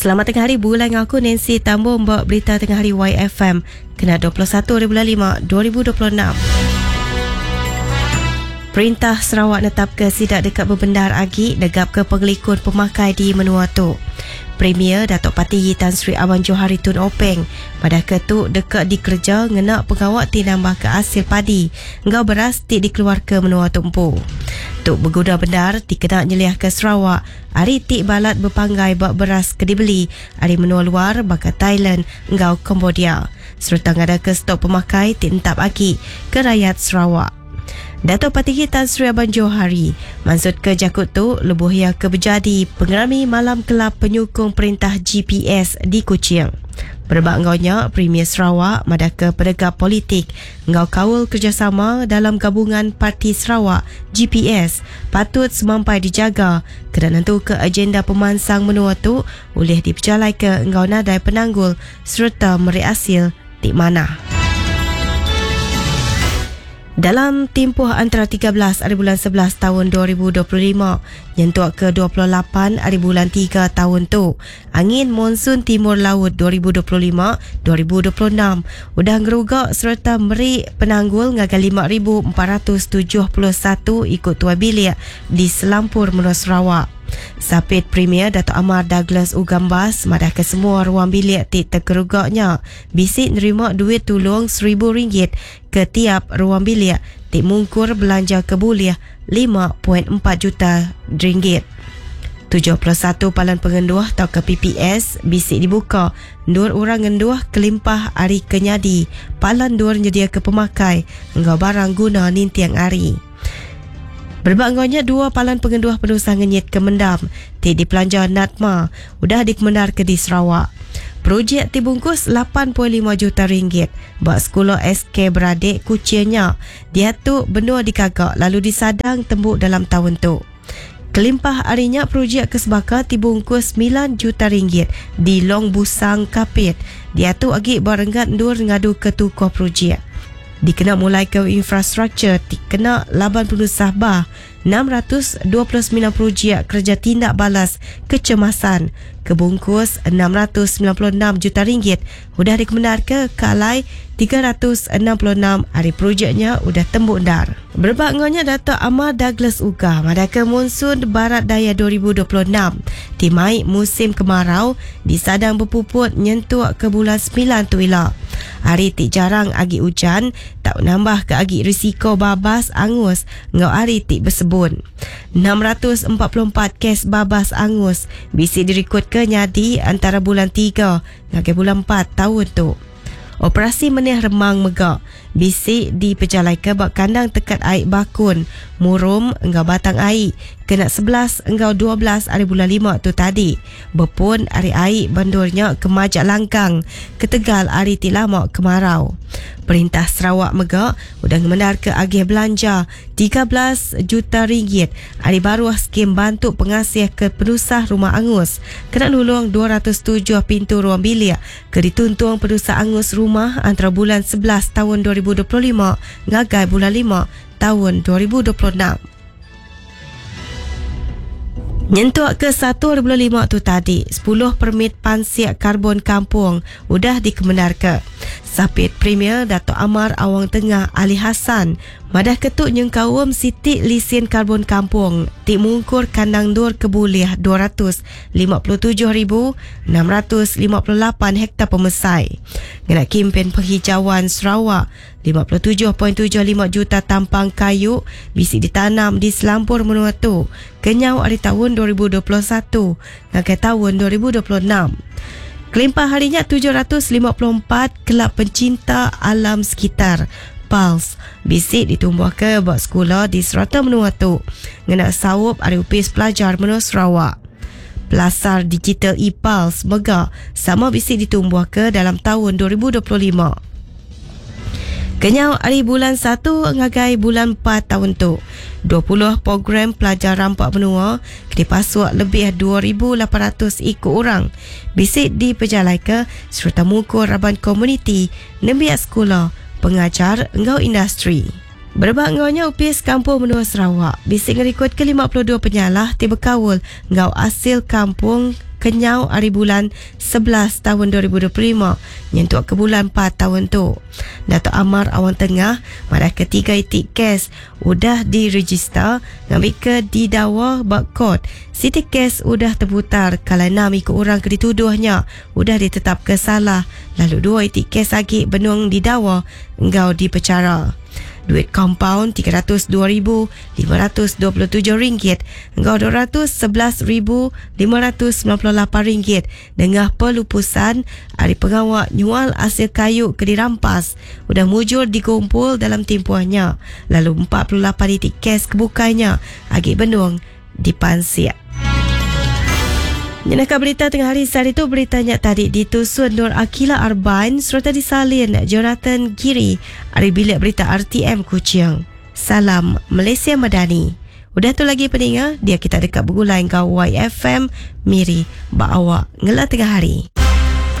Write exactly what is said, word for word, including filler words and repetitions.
Selamat tengah hari bulan aku Nancy Tambung buat berita tengah hari Y F M kena dua puluh satu bulan lima dua ribu dua puluh enam. Perintah Sarawak netap ke sidak dekat berbendar agi negap ke pengelikun pemakai di menua tu. Premier Datuk Patinggi Tan Sri Abang Johari Tun Openg pada ketu dekat dikerja ngena pengawak ti nambah ke hasil padi ngau beras ti dikeluar ke menua tumpu. Tuk berguna benar ti kena nyeliah ke Sarawak hari ti balat berpanggai bak beras ke dibeli hari menua luar baka Thailand ngau Cambodia serta ngada ke stok pemakai ti entap agi ke rakyat Sarawak. Datuk Patinggi Tan Sri Abang Johari maksud ke jakut tu lebuh ia ke berjadi pengerami malam kelab penyokong perintah G P S di Kuching. Berebak ngaunya Premier Sarawak madah ke penegak politik ngau kaul kerjasama dalam gabungan Parti Sarawak G P S patut semampai dijaga kerana nentu ke agenda pemansang menua tu boleh diperjalai ke ngau nadai penanggul serta meri hasil ti mana. Dalam tempoh antara tiga belas hari bulan sebelas tahun dua ribu dua puluh lima nyentuk ke dua puluh lapan hari bulan tiga tahun tu, angin monsun timur laut dua ribu dua puluh lima dua ribu dua puluh enam udah ngerugak serta meri penanggul ngagai lima ribu empat ratus tujuh puluh satu ikut tuai bilik di Selampur Menua Sarawak. Sapit Premier Datuk Amar Douglas Ugambas madah ke semua ruang bilik ti terkerugaknya bisik nerima duit tulung seribu ringgit ke tiap ruang bilik ti mungkur belanja kebuliah lima perpuluhan empat juta ringgit. tujuh puluh satu palan pengenduh atau ke P P S bisik dibuka nur orang ngenduh kelimpah hari kenyadi palan dur nyedia ke pemakai enggau barang guna nintiang hari. Berbanggonya dua palan pengenduh penusah ngenyit ke mendam ti dipelanja Natma udah dikemenar ke di Sarawak. Projek dibungkus lapan perpuluhan lima juta ringgit buat sekolah S K Beradik Kuchingnya diatu benua dikagak lalu disadang tembuk dalam tahun tu. Kelimpah harinya projek kesebaka dibungkus sembilan juta ringgit di Long Busang Kapit diatu agi barenggat ndur ngadu ke tukuh projek. Dikena mulai ke infrastruktur dikena laban penusah bah enam ratus dua puluh sembilan projek kerja tindak balas kecemasan kebungkus enam ratus sembilan puluh enam juta ringgit udah dikemenar ke kalai tiga ratus enam puluh enam hari projeknya udah tembuk ndar. Berebak ngonya Datuk Amar Douglas Uggah madah ke monsun Barat Daya dua ribu dua puluh enam timai musim kemarau disadang berpuput nyentuk ke bulan sembilan tu ila. Hari ti jarang agi hujan tak menambah ke agi risiko babas angus ngau hari ti bersebun. enam ratus empat puluh empat kes babas angus bisi direkod ke nyadi antara bulan tiga ngagai bulan empat tahun tu. Operasi Menih Remang Megak bisi dipejalai ke bak kandang tekat air Bakun, Murum enggau Batang Air kena sebelas enggau dua belas hari bulan lima tu tadi. Berpun hari air bandurnya kemajak langkang ketegal hari ti lama kemarau. Perintah Sarawak Megak udah ngemendar ke agih belanja tiga belas juta ringgit hari baru skim bantu pengasih ke penusah rumah angus kena nulung dua ratus tujuh pintu ruang bilik ke dituntung penusah angus rumah antara bulan sebelas tahun dua ribu dua puluh lima ngagai bulan lima tahun dua ribu dua puluh enam. Nyentuk ke satu bulan lima tu tadi, sepuluh permit pansiak karbon kampung udah dikemenar ke. Sapit Premier Datuk Amar Awang Tengah Ali Hassan madah ketuk nyengkawam sitik lisin karbon kampung ti mungkur kandang dur kebuliah dua ratus lima puluh tujuh ribu enam ratus lima puluh lapan hektar pemesai. Ngena kempen penghijauan Sarawak lima puluh tujuh perpuluhan tujuh lima juta tampang kayu bisi ditanam di Selampur menua tu kenyau hari tahun dua ribu dua puluh satu ngagai tahun dua ribu dua puluh enam. Kelimpah harinya tujuh ratus lima puluh empat kelab pencinta alam sekitar PALS bisik ditumbuh ke buat sekolah di serata menua tu ngena saup hari upis pelajar menua Sarawak. Pelasar digital e-PALS mega sama bisik ditumbuh ke dalam tahun dua ribu dua puluh lima. Kenyau hari bulan satu ngagai bulan empat tahun tu, dua puluh program pelajar rampak benua kena pasuk lebih dua ribu lapan ratus ikut orang bisik diperjalai ke serta mukur raban komuniti, nembiak sekolah, pengajar enggau industri. Berebak ngaunya upis kampung menua Sarawak bisik ngerikut ke lima puluh dua penyalah ti berkaul enggau hasil kampung kenyau hari bulan sebelas tahun dua ribu dua puluh lima nyentuk ke bulan empat tahun tu. Datuk Amar Awang Tengah pada ketiga itik kes udah diregister ngambil ke didawa bak court. Siti kes udah terputar kalau enam ikut orang ke dituduhnya udah ditetap ke salah lalu dua itik kes lagi benung didawa engkau dipecara. Duit kompaun tiga ratus dua ribu lima ratus dua puluh tujuh ringgit engkau dua ratus sebelas ribu lima ratus sembilan puluh lapan ringgit dengan pelupusan hari pengawak nyual hasil kayu ke dirampas udah mujur dikumpul dalam tempohnya lalu empat puluh lapan titik kes kebukainya agi benung dipansiak. Nyenaka berita tengah hari sehari tu beritanya tadi ditusun Nur Akila Arbain serta disalin Jonathan Giri ari bilik berita R T M Kuching. Salam Malaysia Madani. Udah tu lagi peninga, dia kita dekat bergulai ngau Y F M Miri ba awak ngela tengah hari.